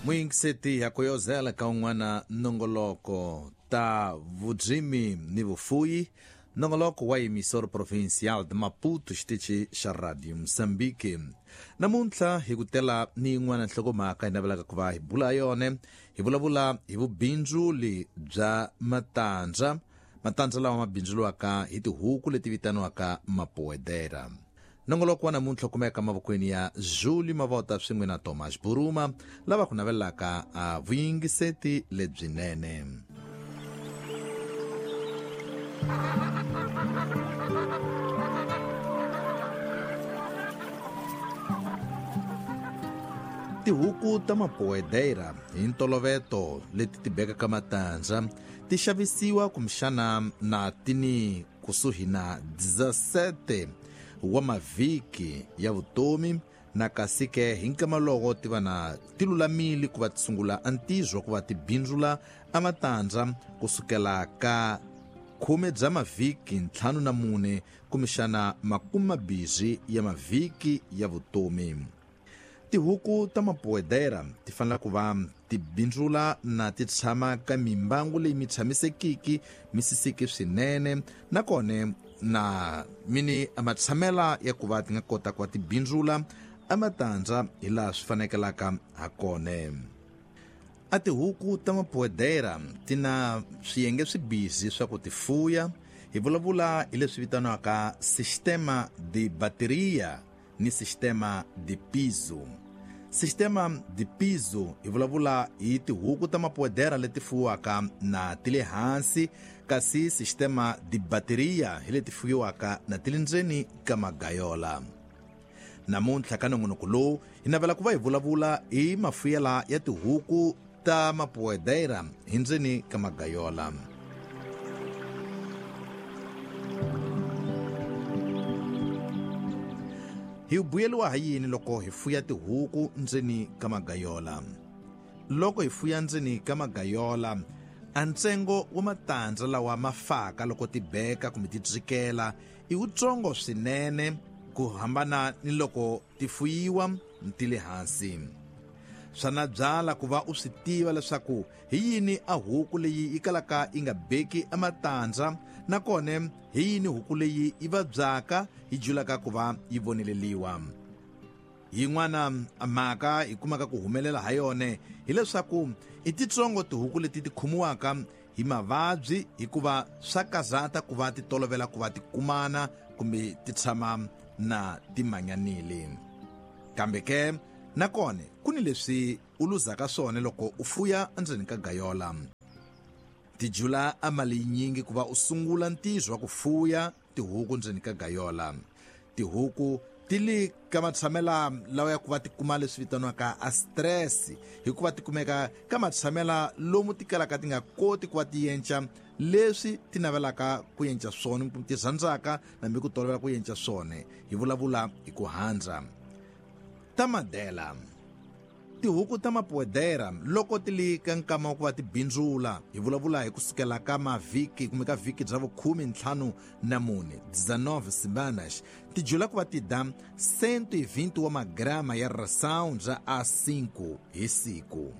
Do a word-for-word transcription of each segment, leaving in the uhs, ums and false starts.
Muyingiseti ya kuyozela ka un'wana nongoloko ta vurimi ni vufuyi, nongoloko wa emissora provincial de Maputo, xitichi xa Radio Moçambique. Namuntlha hi ku tela ni yin'wana nhlokomhaka hi navelaka ku va hi bula yona, hi vulavula hi vubindzuli bya matandza, matandza lawa ma bindzuriwaka hi tihuku leti vitaniwaka mapoedera. Nongoloko wa namuntlha kumeka mavokweni ya Julie Mavota swin'we na Thomas Buruma, lava ku navelaka a vuyingiseti lebyinene. Tihuku ta mapoedera hi ntolovelo leti ti bekaka matandza ti xavisiwa kumbexana na tini kusuhi na dezessete wa mavhiki ya vutomi, na kasi ke hi nkama loko ti va na ti lulamile ku va ti sungula antizo ku va ti bindzula amatandza kusukela ka khume bya mavhiki ntlhanu na mune kumbexana makume mambirhi ya mavhiki ya vutomi. Tihuku ta mapoedera ti fanele ku va ti bindzula na ti tshama ka mimbangu leyi mi tshamisekiki mi sisiki swinene, nakona na mini matshamela ya ku va ti nga kota ku va ti bindzula amatandza hi laha swi fanekelaka ha kona. A tihuku ta mapoedera ti na swiyenge swibizi swa ku ti fuya. Hi vulavula hi leswi vitaniwaka sistema de bateria ni sistema de piso. Sistema de piso hi vulavula hi tihuku ta mapoedera leti fuwiwaka na ti le hansi, kasi sistema de bateria hi leti fuwiwaka na ti le ndzeni ka magayola. Namuntlha ka nongonoko lowu hi navela ku va hi vulavula hi mafuyela ya tihuku ta mapoedera hi ndzeni ka magayola. Hi vuyeriwa ha yini loko hi fuya tihuku ndzeni ka magayola? Loko hi fuya ndzeni ka magayola, a ntsengo wa matandza lawa ma faka loko ti beka kumbe ti dzikela i wutsongo swinene ku hambana ni loko ti fuyiwa ti le hansi. Swa na byala ku va u swi tiva leswaku hi yini a huku leyi yi kalaka yi nga beki amatandza, nakona hi yini huku leyi yi vabyaka yi julaka ku va yi voneleliwa. Yin'wana mhaka hi kumaka ku humelela ha yona hileswaku i titsongo tihuku leti ti khomiwaka hi mavabyi, hikuva swa kazata ku va ti tolovela ku va ti kumana kumbe ti tshama na ti manyanile. Kambe ke nakona ku ni leswi u luzaka swona loko u fuya endzeni ka gayola. Ti jula a mali yinyingi ku va u sungula ntirho wa ku fuya tihuku ndzeni ka gayola. Tihuku ti le ka matshamela lawa ya ku va ti kuma leswi vitaniwaka a stress, hikuva ti kumeka ka matshamela lomu ti kalaka ti nga koti ku va ti yenca leswi ti navelaka ku yenca swona kumbe ti rhandzaka nambi ku tolovela ku yenca swona. Hi vulavula hi ku handza. Ta madela. Tihuku ta mapoedera loko ti le ka nkama wa ku va ti bindzula, hi vulavula hi kusukela ka mavhiki kumbe ka vhiki bya vukhume ntlhanu na mune, dezenove semanas, ti jula ku va ti da cento e vinte wa magrama ya ração bya A cinco hi siku.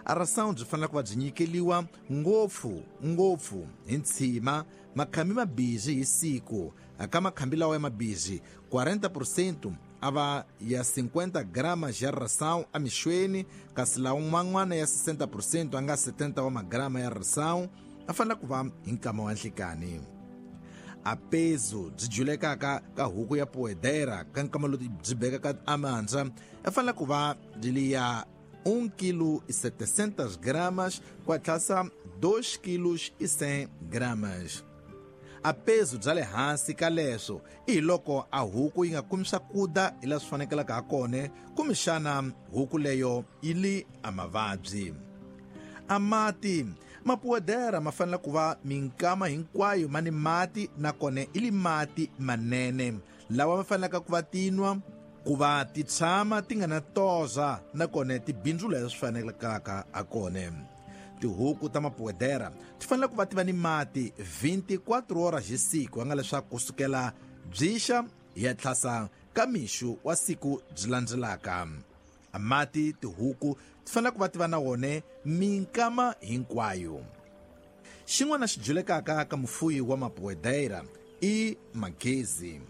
A ração byi fanele ku va byi nyikeliwa ngopfu ngopfu hi ntshima makhambi mabirhi hi siku. Ka makhambi lawa ya mabirhi quarenta por cento a va ya cinquenta gramas ya ração emixweni, kasi lawa man'wana ya sessenta por cento a nga setenta wa magrama ya ração a fanele ku va hi nkama wa nhlikani. A peso byi julekaka ka huku ya poedera ka nkama lowu byi bekaka amandza a fanele ku va byi li ya um quilo e setecentas gramas ku atlasa dois quilos e cem gramas. A peso bya le hansi ka leswo i hi loko a huku yi nga kumi swakudya hi laha swi fanekelaka ha kona, kumbexana huku leyo yi li a mavabyi. A mati mapoedera ma fanele ku va minkama hinkwayo ma ni mati, nakona i li mati manene lawa ma fanelaka ku va tinwa ku va ti tshama ti nga na toza, nakona ti bindzula leswi fanelekaka ha kona. Tihuku ta mapoedera ti fanele ku va ti va ni mati vinte e quatro horas hi siku, nga leswaku kusukela byixa hi ya tlhasa ka mixo wa siku byi landzelaka. A mati tihuku ti fanele ku va ti va na wone minkama hinkwayo. Xin'wana xi julekaka ka mufuyi wa mapoedera i magezi.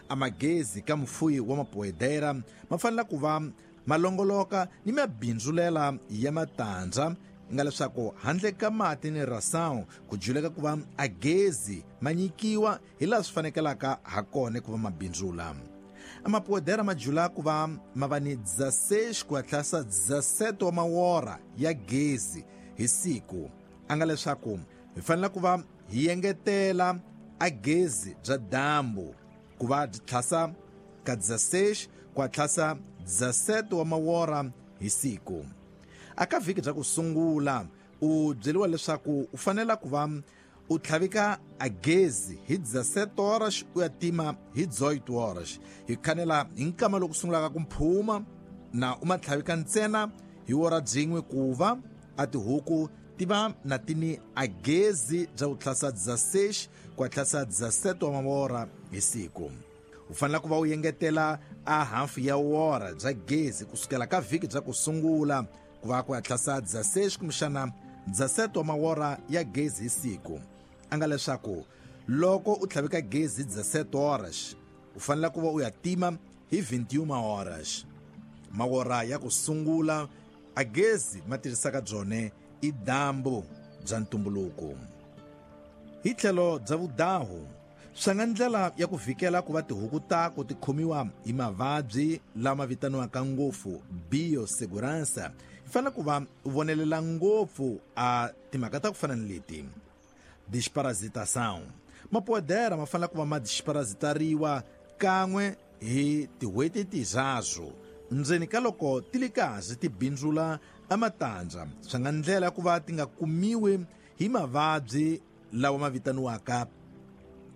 A magezi ka mufuyi wa mapoedera ma fanele ku va ma longoloka ni mabindzulela ya matandza, nga leswaku handle ka mati ni ração ku juleka ku va a gezi ma nyikiwa hi laha swi fanekelaka ha kona ku va mabindzula. A mapoedera ma jula ku va ma va ni dezesseis ku tlhasa dezessete wa mawora ya gezi hi siku, a nga leswaku hi fanele ku va hi engetela a gezi bya dyambu ku va byi tlhasa ka dezesseis ku tlhasa dezessete wa mawora hi siku. Aka vhiki bya ku sungula u byeriwa leswaku u fanele ku va u tlhavika a gezi hi dezessete horas u ya tima hi dezoito horas, hi khanela hi nkama loku sungulaka ku mphuma, na u ma tlhavika ntsena hi wora byin'we ku va a tihuku ti va na tini a gezi bya ku tlhasa dezesseis ku tlhasa dezessete wa mawora hi siku. U fanele ku va u engetela a hafu ya wora bya gezi kusukela ka vhiki bya ku sungula ku va ku ya tlhasa dezesseis kumbexana dezessete wa mawora ya gezi hi siku, a nga leswaku loko u tlhavika gezi dezessete horas u fanele ku va u ya tima hi vinte e uma horas. Mawora ya ku sungula a gezi ma tirhisaka byone i dyambu bya ntumbuluko. Hi tlhelo bya vudahu swi nga ndlela ya ku vhikela ku va tihuku tako ti khomiwa hi mavabyi lama vitaniwaka ngopfu biosegurança, hi fanele ku va u vonelela ngopfu a timhaka ta ku fana ni leti. Desparasitação. Mapoedera ma fanele ku va ma desparasitariwa kan'we hi tin'hweti tinharhu ndzeni ka loko ti li kahle ti bindzula a matandza, swi nga ndlela ku va ti nga kumiwi hi mavabyi lawa ma vitaniwaka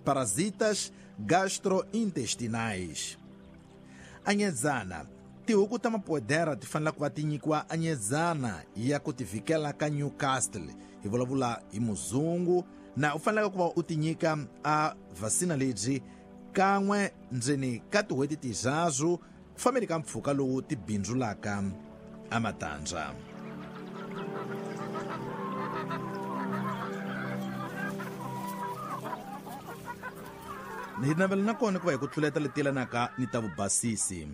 parasitas gastrointestinais. Anyezana. Tihuku ta mapoedera ti fanele ku va ti nyikiwa anyezana ya ku ti vhikela ka Newcastle, hi vulavula hi muzungu, na u fanele ku va u ti nyika a vasina lebyi kan'we ndzeni ka tin'hweti tinharhu ku fambeni ka mpfhuka lowu ti bindzulaka a matandza. Hi navela na kona ku va hi ku tluleta leti yelanaka ni ta vubasisi.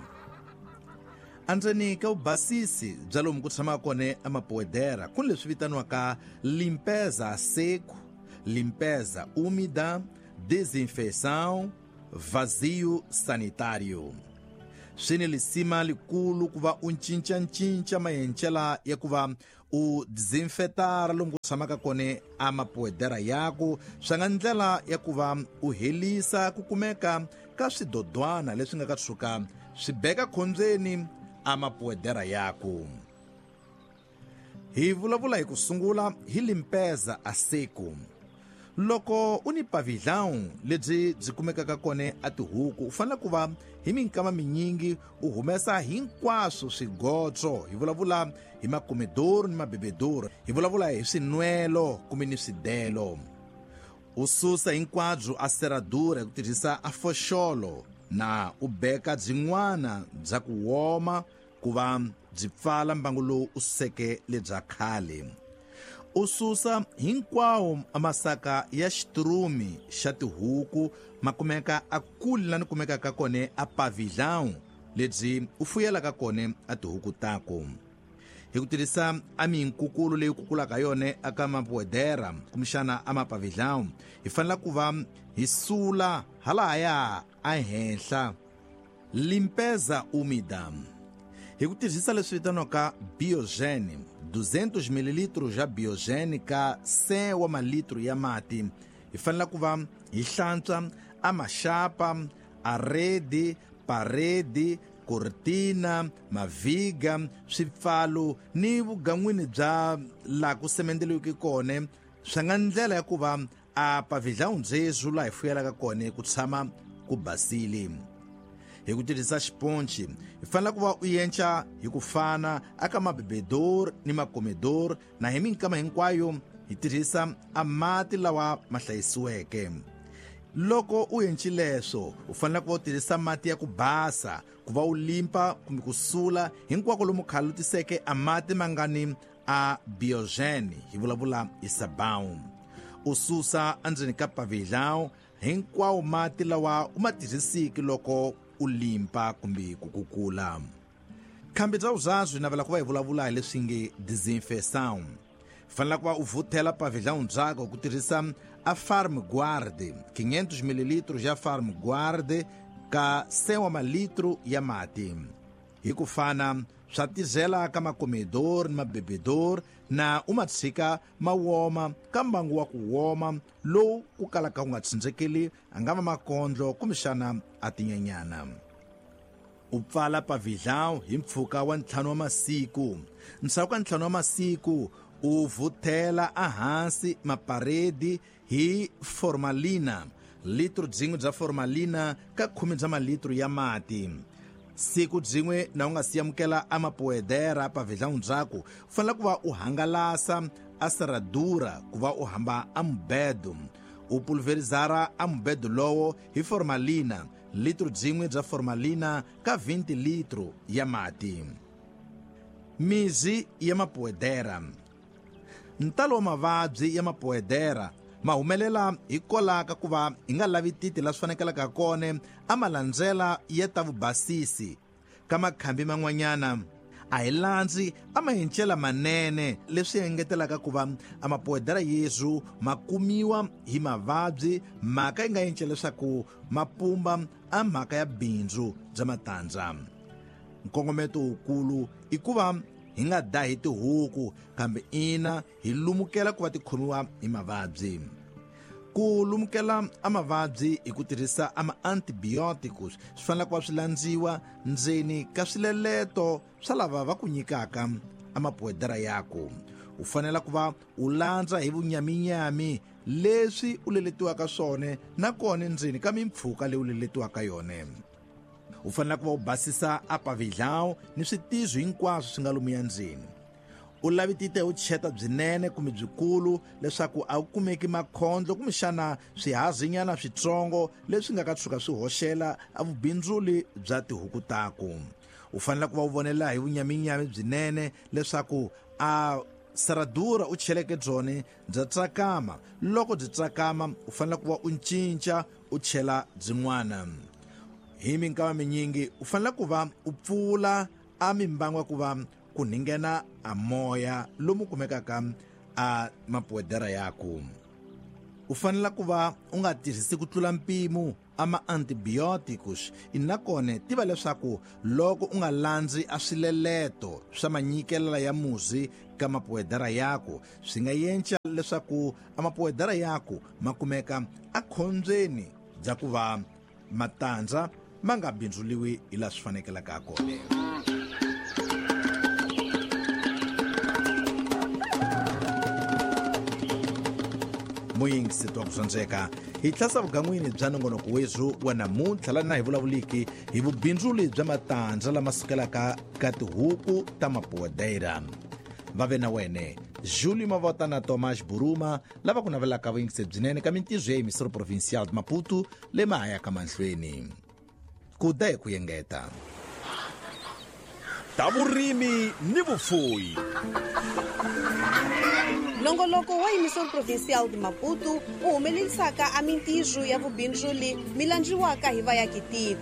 Andzeni ka vubasisi bya lomu ku tshamaka kona emapoedera ku ni leswi vitaniwaka limpeza a seco, limpeza úmida, desinfecção, vazio sanitário. Swi ni lisima likulu ku va u cincacinca maendlelo ya ku va u desinfetara lomu ku tshamaka kona amapoedera yaku, swi nga ndlela ya ku va u helisa ku kumeka ka swidodwana leswi nga ka tshuka swi beka khombyeni amapoedera yaku. Hi vulavula hi ku sungula hi limpeza a seco. Loko u ni pavilhão lebyi byi kumekaka kona a tihuku, u fanele ku va hi minkama minyingi u humesa hinkwaswo swigotso, hi vulavula hi makomedoro ni mabebedoro, hi vulavula hi swinwelo kumbe ni swidelo. U susa hinkwabyo a serradura hi ku tirhisa a foxolo na u beka byin'wana bya ku woma ku va byi pfala mbangu lowu u suseke lebya khale. U susa hinkwawo masaka ya xitirumi xa tihuku ma kumeka a kule lani kumekaka kona a pavilhão lebyi u fuyelaka kona a tihuku tako. Hi ku tirhisa a minkukulu leyi kukulaka yona aka mapoedera kumbexana a mapavilhão, hi fanele ku va hi sula halahaya a henhla. Limpeza úmida. Hi ku tirhisa leswi vitaniwaka biogene, duzentos mililitros ya biogene ka cem wa malitro ya mati, hi fanele ku va hi hlantswa a maxapa, a rede, parede, cortina, maviga, swipfalo ni vugan'wini bya laha ku semendeliweke kona, swi nga ndlela ya ku va a pavilhão byebyo laha hi fuyelaka kona ku tshama ku basile. Hi ku tirhisa xiponci hi fanele ku va u yenca hi ku fana aka mabebedor ni makomedor, na hi minkama hinkwayo hi tirhisa a mati lawa ma hlayisiweke. Loko u endlile leswo u fanele ku tirhisa mati ya ku basa ku va u limpa kumbe ku sula hinkwako lomu khalutiseke a mati mangani a biogen hi vulavula hi sabão. U susa endzeni ka pavilhão hinkwawo mati lawa u ma tirhisiki loko u limpa kumbe ku kukula. Khambi bya vuzazwi navela ku va hi vulavula hi leswi nge desinfeção. Fanele ku va u vuthela pavilhão byako ku tirhisa a Farm Guard, quinhentos mililitros ya Farm Guard ka cem wa malitro ya mati. Hi ku fana swa tizela ka makomedor ni mabebedor na u ma tshika ma woma ka mbangu wa ku woma lowu ku kalaka ku nga tsindzekeli a nga va makondlo kumbexana a tinyenyana. U pfala pavilhão hi mpfhuka wa ntlhanu wa masiku. Ndzhaku ka ntlhanu wa masiku u vuthela ehansi maparedi hi formalina, litro byin'we bya formalina ka khume bya malitro ya mati. Siku byin'we na u nga si amukela a mapoedera pavilhão byako u fanele ku va u hangalasa a serradura ku va u hamba a mubedo. U pulverizara a mubedo lowo hi formalina, litro byin'we bya formalina ka vinte litro ya mati. Mizi ya mapoedera. Ntalo wa mavabyi ya mapoedera ma humelela hikwalaho ka ku va hi nga lavi titi la swi fanekelaka kona a ma landzela ya ta vubasisi. Ka makhambi man'wanyana a hi landzi a ma hincela manene leswi engetelaka ku va a mapoedera yesu ma kumiwa hi mavabyi mhaka yi nga encela leswaku ma pumba a mhaka ya bindzu bya matandza. Nkongometo wukulu i ku va hi nga dahi tihuku kambe ina hi lumukela ku va ti khomiwa hi mavabyi. Ku lumukela a mavabyi hi ku tirhisa ama antibiotics swi fanele ku va swi landziwa ndzeni ka swileleto swa lava va ku nyikaka a mapoedera yako. U fanele ku va u landza hi vunyaminyami leswi u leletiwaka swona nakona ndzeni ka mimpfhuka leyi u leletiwaka yona. U fanele ku va u basisa a pavilhão ni switizo hinkwaswo swi nga lomuya ndzeni. U lavitite u cheta byinene kumbe byikulu leswaku a wu kumeki makhondlo kumbexana swihazinyana switsongo leswi nga ka tshuka swi hoxela a vubindzuli bya tihuku tako. U fanele ku va u vonela hi vunyaminyami byinene leswaku a serradura u cheleke byone bya tsakama. Loko byi tsakama u fanele ku va u cinca u chela byin'wana. Hi minkama minyingi u fanele ku va u pfula a mimbangu ku va ku ninghena a moya lomu kumekaka a mapoedera yako. U fanele ku va u nga tirhisi ku tlula mpimo a ma antibiotics inakone tiva leswaku loko u nga landzi a swileleto swa manyikelela ya muzi ka mapoedera yako swi nga yenca leswaku a mapoedera yako ma kumeka a khombyeni bya ku va matandza ma nga bindzuliwi hi laha swi fanekelaka kona. Muyingisi wa ku swandzeka hi tlhasa vugan'wini bya nongonoko wethu wa namuntlha laha na hi vulavuliki hi vubindzuli bya matandza lama sukelaka ka tihuku ta mapoedera. Va ve na wene Júlio Mavota na Tomás Buruma lava ku navelaka vuyingisi byinene ka mintirho ya Emissora Provincial de Maputo le mahaya ka mahlweni. Ku da hi ku engeta. Ta vurimi ni vufuwi. Nongoloko wa Emissora Provincial de Maputo u humelerisaka a mintirho ya vubindzuli mi landziwaka hi vayakitiko.